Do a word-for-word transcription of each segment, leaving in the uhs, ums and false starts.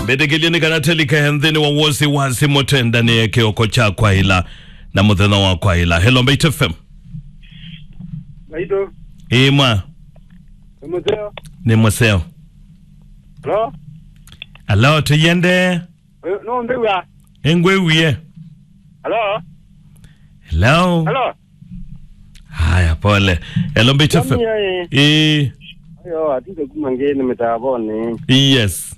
Mbĩtĩkĩlye nĩ kana tũlike nthĩnĩ wa wasiwasi mũtwendanie kĩoko kya kwaĩla na mũthenya wa kwaĩla. Hello, Mbaitu F M. Mbaitu. Ĩĩ mwa. Nĩ mũseo. Nĩ mũseo. Hello? Hello, tũyende. Ũyũ, no mbĩw'a? Ĩngwĩwie. Hello? Hello? Hello? Haya, pole. Hello, Mbaitu F M. Mami, ĩĩ. Ĩĩ. Ayo, atinde kuma ngeni mĩtavonĩ. Yes.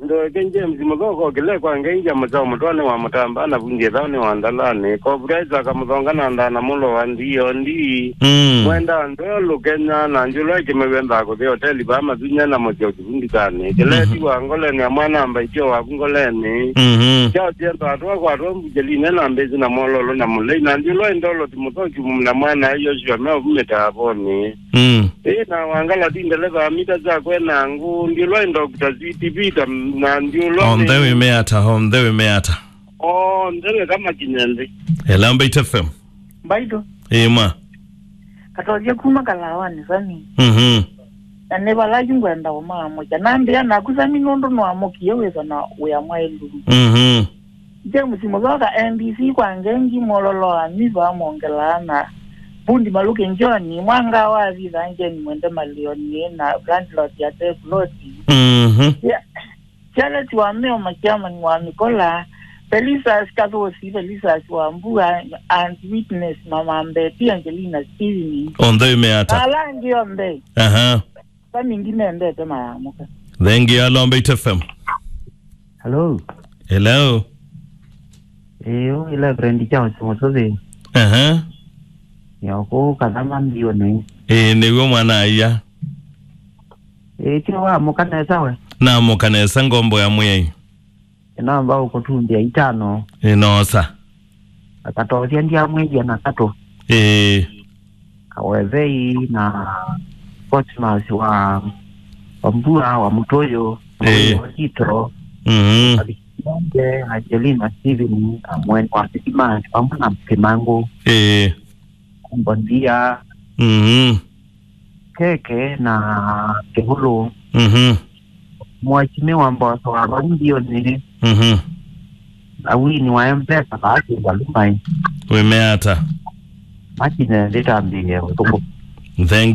Ndo King James Mũthoko kĩle kwa ngengia mũtao mũtwani wa mũtamba na vundi ĩthao nĩ wa ndalani. Copyright akamũthonga na ndana mũlo wa ndio ndi. Mm. Mwenda ndwelo Kenya na njũlo ĩkĩmewenda kũthi hoteli ba mathunya na mũtyo kĩvundikani. Kĩleti wa ngoleni ya mwana amba itio waku ngoleni. Mhm. Kyao tienda atwa kwa atwa mbujeline na mbezi na mololo na mulei na ndiũlo indolo ti mũthoki na mwana Yoshua meo vumĩta avoni. Mm. Ĩ na wangala ti ndeleva mita za kwena ngũ ndiũlo indokita C T V ta na ndiũlo. On the way meata, on the way meata. On the way kama kinyende. Hello, Mbaitu F M. Mbaitu. Ĩĩ mwa. Katolya kuma Kalawanĩ Sami. Mhm. Na nĩ vala yu ngwenda ũmaamũkya. Nambĩa naku Sami nũndũ nũamũkie wĩsa na wĩa mwaĩlu. Mhm. James Mũthoka M B C kwa ngengi mololo wa miva mongelaa na Bundi Maluke Njoni, mwanga wa Vitha Njeni Mwende Malioni na landlord ya Teploti. Mhm. Yeah. Charles wa Meo, Makiamani wa Mikola, Felicitas Kathosi, Felicitas wa Mbua, and Witness, Mama Mbeti, Angelina Steven. On the way meata. Na ala angĩ onthe. Aha. Sami ndimendete mayamũka. Thank you, hello, Mbaitu F M. Hello. Hello. Ĩĩ, ũyũ Reverend Charles Mũtũthĩ. Aha. Nĩ o kũu Kathama mbiũnĩ. Ĩĩ, nĩw'o mwana aia. Ĩĩ, ti wamũka nesa we? Namũka nesa ngombo ya Mwĩai. Ĩnamba ũkũtumbĩa itano. Ĩnosa. Akatosya ndyamwĩthya na katũ. Ĩĩ. Kawethei na Cosmas wa, wa Mbua wa Mũtũyũ. Ĩĩ. Wa Tito. Mhm. Avikimonge, Angelina Steven, na Mweni wa Sitimani, vamwe na Kĩmangũ. Ĩĩ. Mbondia. Mhm. Keke na Kĩvũlũ. Mhm. Mwachime wa mboso wa vau mbiũnĩ. Mhm. Awini wa M-Pesa vaasi valumai. Wĩmeata. Makine ndĩtambĩĩe ũtukũ. Thank